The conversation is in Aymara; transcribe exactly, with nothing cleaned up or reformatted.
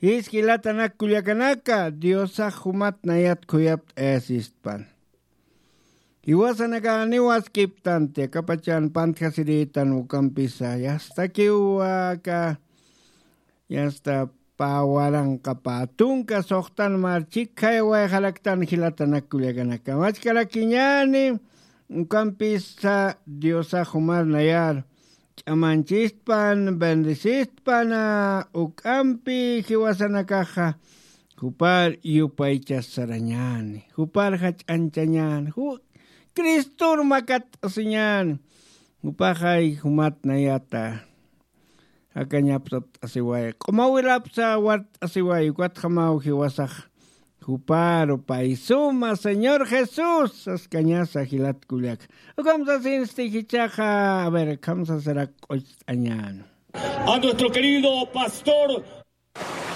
Jis jilatanak kullakanaka, diosax jumat nayat khuyapt'ayasistpan. Jiwasanakaniwaskiptanti akapachan pantjasiritan ukampisa yastakiwaka. Yasta pawaranqapa tunka suxtan marchikhay wayxaraktan jilatanak kullakanaka machkarakiñani. Ukampisa diosax jumar nayar ch'amanchispan bendisistpan. Ukampi jiwasanakaxa jupar yupaychasarañani jupar jach'anchañani ju cristur makat'asiñani. Jupaxay jumat nayata jakañapsapt'asiway q'umawilapsa wart'asiway ukatjamaw jiwasax. Juparu paysuma señor jesús saskañasa jilatkullak. Ukamsasinsti jichaxa a ver kamsasirak q'ucht'añan. A nuestro querido pastor.